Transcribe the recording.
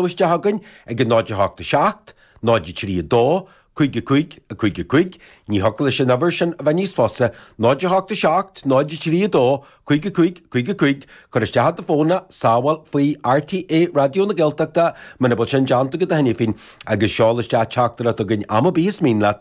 Isteach chugainn ag 0 8 7 0 3 2 5 5 5 5, ní thiocfadh leis an uimhir sin a bheith níos fusa, 0 8 7 0 3 2 5 5 5 5, cuir isteach i do fón é, sábháil faoi RTÉ Raidió na Gaeltachta muna bhfuil sin déanta agat cheana féin agus seol isteach teachtaireacht chugainn am ar bith is mian leat.